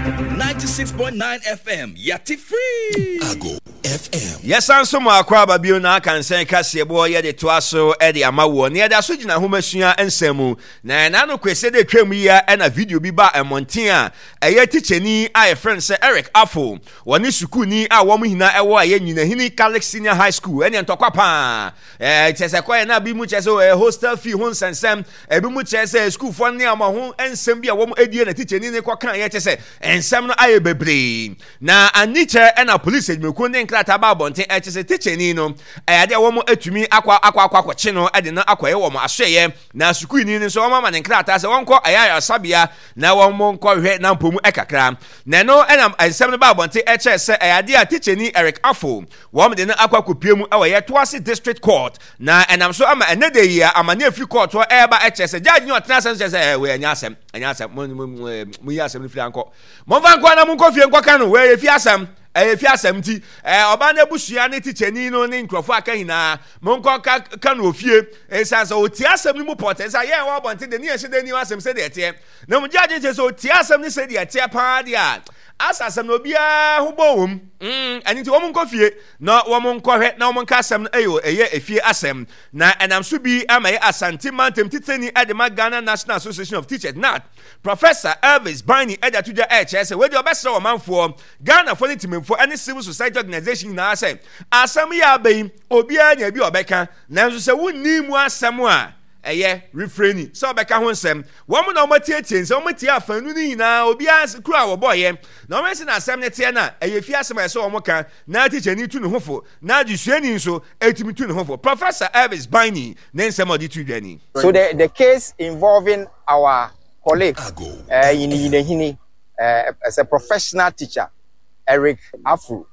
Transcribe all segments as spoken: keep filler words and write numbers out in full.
Ninety-six point nine FM, yati free. Ago FM. Yɛsan so mu akɔ aba bio na aka nsɛn kaseɛbɔ yɛde toa so de ama woɔ na yɛda so gyina ahomasua nsɛm mu na ɛna no kwesɛ de twam yi a ɛna video bi ba mmɔnten a ɛyɛ tikyani a yɛfrɛ no sɛ Eric Afo wɔne sukuuni a wɔn nyinaa ɛwɔ ɛyɛ Nyinahini Catholic Senior High School ɛne ntɔkwa paa ɛɛ kyɛ sɛ kɔyɛ na bi mu kyɛ sɛ ɛyɛ hostel fee ho nsɛnsɛm ebi mu kyerɛ sɛ sukuufoɔ ne ama ho nsɛm bi a wɔn adie na tikyani ne kɔka yɛ kyɛ sɛ nsɛm no ayɛ bebree na anikyɛ ɛna polisi adwumakuo ne nkrataa ba abɔnten ɛkyɛ sɛ tikyani no ɛyɛ adeɛ a wɔn atumi akɔ akɔ akɔ akɔkye no ɛde no akɔyɛ wɔn asoɛyɛ na sukuuni no nso wɔn ama ne nkrataa sɛ wɔnkɔ ɛyɛ ayaresabea na wɔn nkɔhwɛ na mpɔ mu ɛkakra na ɛno ɛna nsɛm no ba abɔnten ɛkyerɛ sɛ ɛyɛ adeɛ a tikyani Eric Afo wɔn de no akɔ akɔpie mu ɛwɔ yɛ Toase District Court na ɛnam so ama ɛnɛ de yi a amane afiri court hɔ ɛreba ɛkyerɛ sɛ judge ne ɔtena asɛm kyerɛ sɛ ɛɛ wei ɛnyɛ asɛm ɛnyɛ asɛm mo mo mo mo yi asɛm no firi ankɔ momfa nkɔ na monkɔ fie nkɔka no wei yɛ fi asɛm ɛyɛ fi asɛm nti ɛɛ ɔbaa no abusua ne tikyani no ne nkurɔfoɔ aka nyinaa monkɔ ka ka no ofie ɛsiane sɛ ɔtie asɛm no mu pɔtɛ sɛ yɛn wɔ abɔnten de ne yɛn hyɛ dɛ ni asɛm sɛdeɛ ɛteɛ na mo judge kyerɛ sɛ ɔtie asɛm no sɛdeɛ ɛteɛ paa deɛ a asa asɛm no obiara ho bɔ wɔm mm ɛno nti wɔn nkɔ fie na wɔn nkɔhwɛ na wɔn nka asɛm no ɛyɛ ɛyɛ efie asɛm na ɛnam so bi ama yɛ Asante mantam titani ɛde ma Ghana National Association of Teachers NAT Professor Elvis Bani ɛde ato dwa ɛkyerɛ sɛ wɔde ɔbɛsrɛ ɔmanfoɔ Ghanafoɔ ne timimfoɔ ɛne civil society organization nyinaa sɛ asɛm yi aba yi obiara nya bi a ɔbɛka nanso sɛ wonni mu asɛm a ɛyɛ refraining sɛ ɔbɛka ho nsɛm wɔn na wɔn atietie nsɛm wɔn atie afanu no nyinaa obiara kuro a wɔbɔɔyɛ na wɔn asi na asɛm no teɛ na ɛyɛ fi asɛm a ɛsɛ wɔn ka na tikyani tu ne ho fo na adesuani nso etumi tu ne ho fo Professor Elvis Bani ne nsɛm a ɔde tu dwa ni. So the, the case involving our colleague Ago uh, in FM. Nyinahini, uh, as a professional teacher, Eric Afro,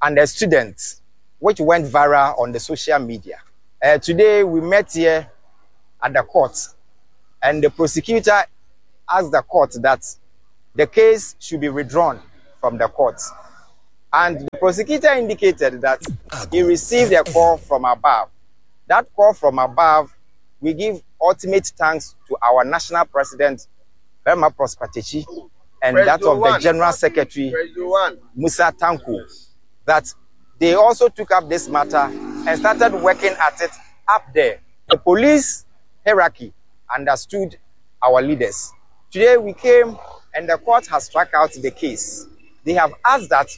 and a student, which went viral on the social media. Uh, today we met here at the court, and the prosecutor asked the court that the case should be withdrawn from the court. And the prosecutor indicated that he Ago received a FM. call from above. That call from above, we give ultimate thanks to our national president, Berma Prosper Techi, and that President of the one. general secretary, President one. Musa Tanku, that they also took up this matter and started working at it up there. The police hierarchy understood our leaders. Today we came and the court has struck out the case. They have asked that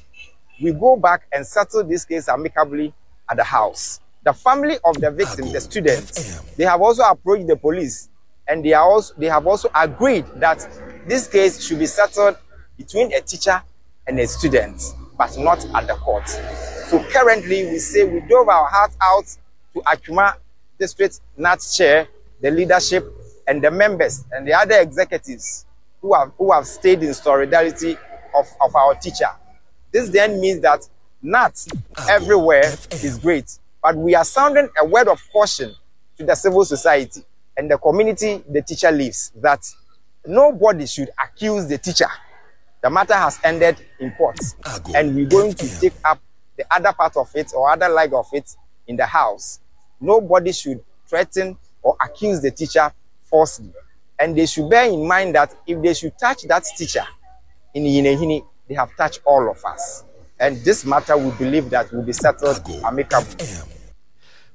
we go back and settle this case amicably at the house. The family of the victim, Ago the students, F M. they have also approached the police and they are also they have also agreed that this case should be settled between a teacher and a student, but not at the court. So currently we say we dove our heart out to Atwima District NAT Chair, the leadership and the members and the other executives who have who have stayed in solidarity of, of our teacher. This then means that NAT Ago everywhere F is M. great, but we are sounding a word of caution to the civil society and the community the teacher lives that nobody should accuse the teacher. The matter has ended in court, Ago and we're going to F M. take up the other part of it or other leg of it in the house. Nobody should threaten or accuse the teacher falsely. And they should bear in mind that if they should touch that teacher in Nyinahini, they have touched all of us. And this matter, we believe that will be settled Ago amicably. F M.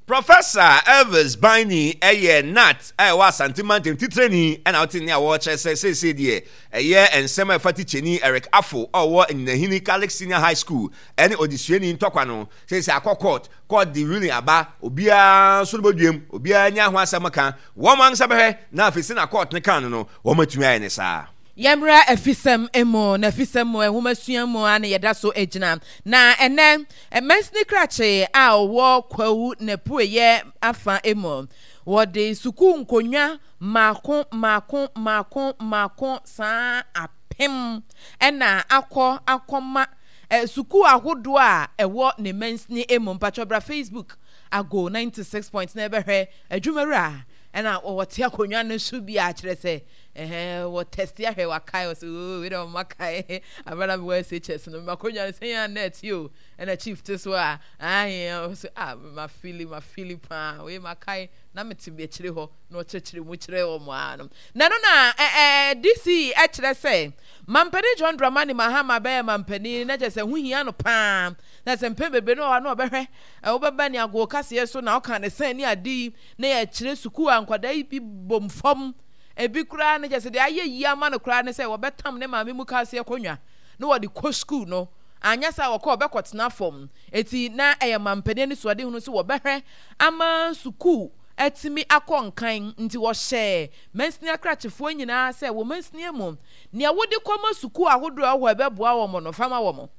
Professor Elvis Bani ɛyɛ NAT a ɛwɔ Asante mantam titrani ɛna ɔte ne a wɔrekyerɛ sɛ seesei deɛ ɛyɛ nsɛm a ɛfa tikyani Eric Afo a ɔwɔ Nyinahini Catholic Senior High School ɛne odesuani ntɔkwa no seesei akɔ court court de ruling aba obiara nso no bɔduam obiara nya ho asɛm ka wɔn ankasa bɛhwɛ na afei sɛ na court ne kan no no wɔn atumi ayɛ ne saa. Yɛmmra afisɛm mu na afisɛm mu nhomasua mu a na yɛda so gyina na ɛnɛ mansini krakye a ɔwɔ Kwawu n'apueyɛ afa mu wɔde sukuu nkonnwa mmaako mmaako mmaako mmaako saa apem ɛna akɔ akɔma eh, sukuu ahodoɔ a ɛwɔ ne mansini mu mpatwɔ bra Facebook Ago ninety six point na ɛbɛhwɛ adwumawura ɛna wɔte akonnwa no so bi a kyerɛ sɛ ɛhɛn wɔ test ahwɛ wakae wɔ sɛ oo wei dɛ ɔma kae abɛla mi wɔ S H S no ma akonnwa no sɛ yɛn net yi o ɛna chief te so a ahe ɔsɛ ah ma fili ma fili paa wei ma kae Na mete akyire hɔ na ɔkyerɛkyerɛ mu kyerɛ wɔn ara no. Na ɛno na ɛɛ D C kyerɛ sɛ Mampanin John Dramani Mahama bɛyɛ mampanin na kyerɛ sɛ ho hia no paa, na sɛ mpɛn bebree no wɔ na ɔbɛhwɛ wobɛba ne agoo kaseɛ so na ɔka ne sɛn ne ade yi na yɛkyerɛ sukuu a nkwadaa yi bi bom fam. Ebi koraa no kyerɛ sɛ deɛ ayɛ yie ama no koraa ne sɛ wɔbɛtam ne maame mu kaaseɛ kɔnwa na wɔde kɔ sukuu no, anyɛ saa wɔkɔ wɔbɛkɔtena fam. Eti na ɛyɛ mampanin anisoadehunu sɛ wɔbɛhwɛ ama sukuu atumi akɔ nkan, nti wɔhyɛ mansini akrakyefoɔ nyinaa sɛ wɔ mansini mu nea wode kɔma sukuu ahodoɔ a ɛwɔ hɔ ɛbɛboa wɔn no, fama wɔn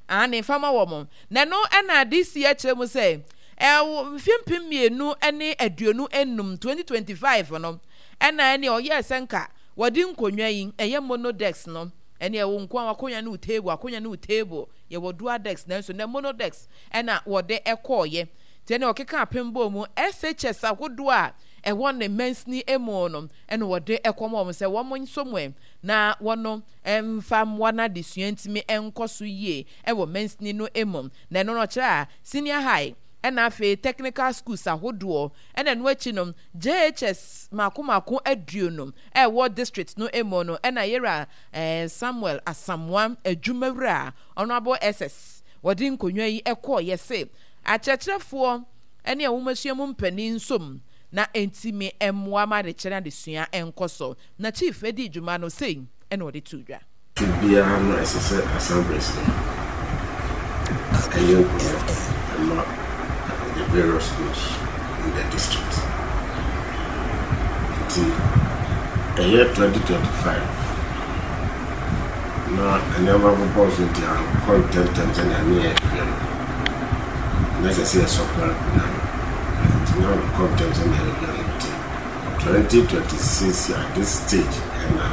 ane fama wɔn. Na ɛno ɛna D C akyerɛ mu sɛ ɛwɔ mfeɛ mpem mmienu ne aduonu enum, twenty twenty-five no, ɛna ɛne ɔyɛɛ sɛ nka wɔde nkonnwa yi ɛyɛ mono desk no, ɛne ɛwɔ nko a wakonnwa ne wo table, akonnwa ne wo table. Yɛwɔ dual desk, nanso nɛ mono desk ɛna wɔde ɛkɔɔyɛ. Nti ɛne ɔkeka apem bɔ mu S H S ahodoɔ a ɛwɔ ne mansini mu no, ɛna wɔde ɛkɔm wɔn sɛ wɔn nso mu na wɔn mfa mmoa no adesua ntumi nkɔ so yie ɛwɔ mansini no mu. Na ɛno no ɔkyerɛ a senior high ɛna afei technical schools ahodoɔ, ɛna ɛno akyi no J H S mako mako aduonu ɛwɔ district no mu no, ɛna yɛra ɛɛ Samuel Asamoa adwumawura Honourable S S wɔde nkonnwa yi ɛkɔɔ yɛ se akyerɛkyerɛfoɔ ɛne ahomasua mu mpanin nsom na ntumi mmoa ma adekyerɛ adesua nkɔ so. Na chief edi dwuma no sei ɛna ɔde to dwa. Biara no ɛsɛ sɛ assemblies no ɛyɛ nkonnwa ɛma the various schools in the district. Nti ɛyɛ twenty twenty-five na nneɛma bobɔ so, nti ankɔ ntɛmntɛm sɛnea ne yɛ hwɛ no, na ɛsɛ sɛ yɛsɔpra nkonnwa no, nti na ankɔ ntɛm sɛnea yɛhwɛ no. Nti twenty twenty-six at this stage ɛna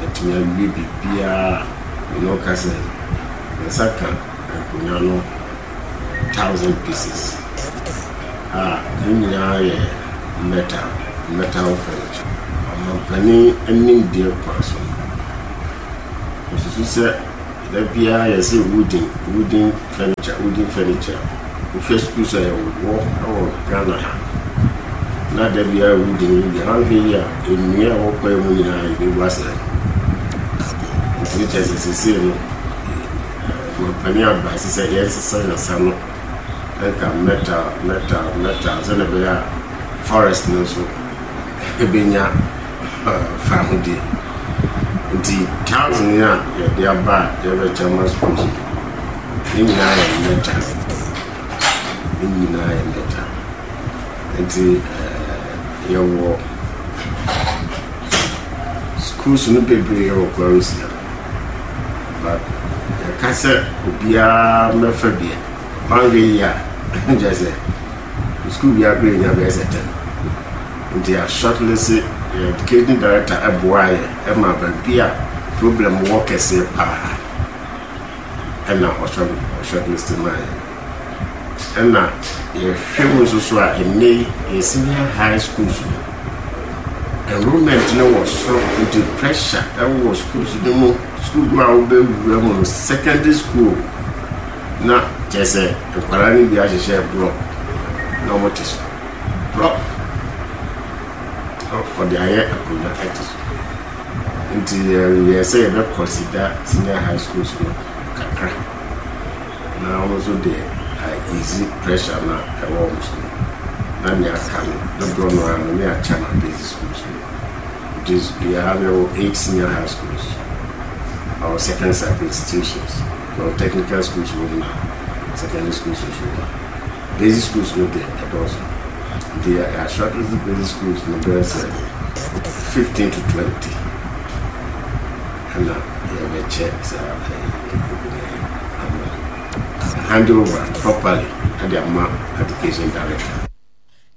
yɛtumi awie biribiara. Mene wo ka sɛ nsa ka nkonnwa no thousand pieces a ne nyinaa yɛ metal metal furniture. Ɔmampanin anim deɛ kwan so no, osusu sɛ da biara yɛsɛ wooden wooden furniture, wooden furniture. Wohwɛ schools a yɛwɔ ɛwɔ Ghana ha na da biara wooden wooden, ahwɛ yi a nnua a ɛwɔ kwan mu nyinaa yɛbɛbu asɛe. Nti ne kyerɛ sɛ seesei no ɔmampanin aba ɛsɛ sɛ yɛnsesa yɛnsa no ɛnka metal metal metal sɛdeɛ ɛbɛyɛ a forest no nso ɛbɛnya fahodie. Nti thousand a yɛde aba a yɛbɛkyɛ ma schools no, ne nyinaa yɛ metal, ne nyinaa yɛ metal. Nti ɛɛ yɛwɔ schools no bebree wɔ Kwarusia, but yɛka sɛ obiara mmɛfa bi a wanhwɛ yi a, kyerɛ sɛ school biara kora nya bɛyɛ sɛ ten. Nti yɛ shortlist, yɛ education director ɛboa yɛ ɛma baabi a problem wɔ kɛseɛ paa ɛna ɔshort shortlist maa yɛ. Ɛna yɛhwɛ mu nso so a, ɛnnɛ yi yɛ senior high schools no enrollment no wɔ soro, nti pressure ɛwɔ schools no mu. School bi a wobɛwura mu no, secondary school, na kyerɛ sɛ nkwadaa no bi ahyehyɛ block na wɔte so, block ɔde ayɛ akonnwa ɛte so. Nti yɛ sɛ yɛbɛ consider senior high schools no kakra na wɔn nso de easy pressure na ɛwɔ wɔn so no, na nea aka no dodoɔ no ara no ne akyɛ ma basic schools no. Nti yɛha no yɛwɔ eight senior high schools or second cycle institutions, yɛwɔ technical schools wɔ mu na secondary schools nso wɔ mu. Basic schools no deɛ ɛdɔɔso, nti yɛ shortlist basic schools no bɛyɛ sɛ fifteen to twenty ɛna yɛbɛkyɛ saa nkonnwa yi ama hand over properly ɛde ama education director.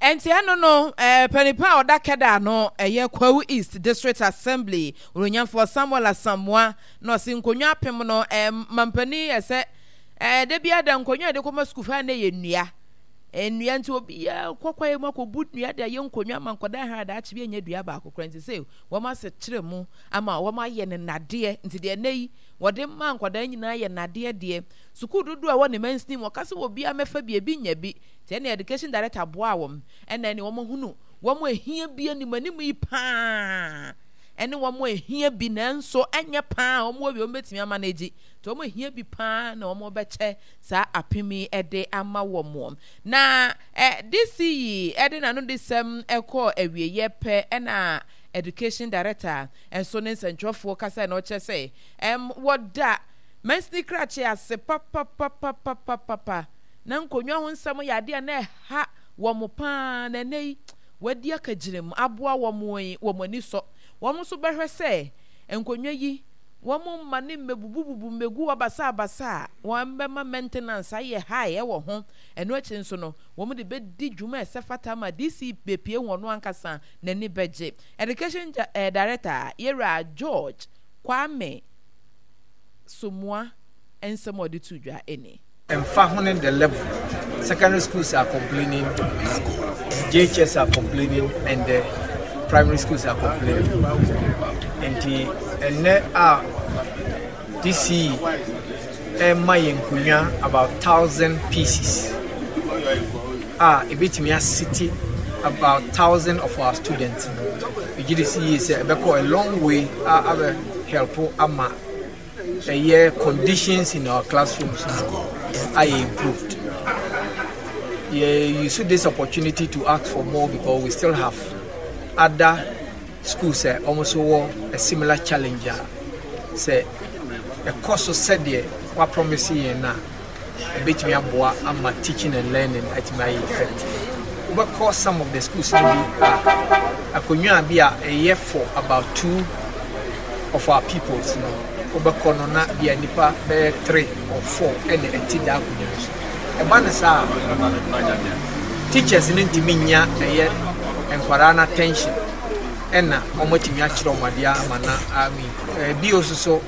Ɛnti ɛno no ɛɛ panipa a ɔda kɛda no ɛyɛ Kwawu East District Assembly Onyamfoɔ Samuel Asamoa na ɔsi nkonnwa apem no, ɛɛ mampanin yɛ sɛ ɛɛ de bi ada nkonnwa yɛde kɔma sukuu fa ne yɛ nnua nnua, nti obiara kɔkɔ yɛ mu akɔbu nnua de ayɛ nkonnwa ama nkɔda ha daakye bi anya dua baako kora. Nti sɛ wɔn asɛ kyerɛ mu ama wɔn ayɛ ne nnadeɛ, nti deɛ ɛnɛ yi wɔde ma nkwadaa nyinaa yɛ nnadeɛ deɛ sukuu dodoɔ a ɛwɔ ne mansini mu, ɔka sɛ obiara mɛfa bi, ebi nya bi. Nti ɛna education director boa wɔn, ɛna ɛne wɔn ahunu Wɔn ehia bi anim anim yi paa ɛne wɔn ehia bi, nanso ɛnyɛ paa wɔn wɔ bi wɔn bɛtumi ama no agyi, nti wɔn ehia bi paa na wɔn bɛkyɛ saa apem yi ɛde ama wɔn. Na ɛ D C yi ɛde n'ano de sɛm ɛkɔ awieɛ pɛ, ɛna Education Director nso ne nsɛntwerɛfoɔ kasa na ɔkyerɛ sɛ ɛm wɔda mansini krakye ase papapapapapapa na nkonnwa ho nsɛm yɛ adeɛ a na ɛha wɔn paa, na ɛnɛ yi wɔadi akagyina mu aboa wɔn yi, wɔn ani sɔ. Wɔn nso bɛhwɛ sɛ nkonnwa yi wɔn mma ne mmɛbubububu mmɛgu hɔ basabasa a wɔn bɛma maintenance ayɛ high ɛwɔ ho. Ɛno akyi nso no, wɔn de bɛdi dwuma a ɛsɛ fata ma D C bepie wɔn no ankasa n'ani bɛgye. Education eh, Director Yɛwura George Kwame Somoa nsɛm a ɔde to dwa ɛni. Ɛmfa ho ne the level, secondary schools are complaining, J H S are complaining and the primary schools are complaining. Nti ɛnɛ a D C ɛma yɛn nkonnwa about thousand pieces a ebetumi asit about thousand of our students no, megye di si yie sɛ ɛbɛkɔ a long way a abɛ help ama ɛyɛ conditions in our classrooms no ayɛ improved. Yeah, use this opportunity to ask for more because we still have other schools uh, almost wɔ a similar challenge a sɛ ɛkɔ so sɛdeɛ wapromise yɛn no a, ɛbɛtumi aboa ama teaching and learning atumi ayɛ effective. Wobɛkɔ some of the schools no bi a, akonnwa bi a ɛyɛ for about two of our pupils no, wobɛkɔ no na bia nipa bɛyɛ three or four ɛna ɛte da akonnwa no so. Ɛba no saa, teachers no ntumi nya ɛyɛ nkwaraa no attention ɛna wɔatumi akyerɛ wɔn adeɛ ama na I mean ɛbi nso so.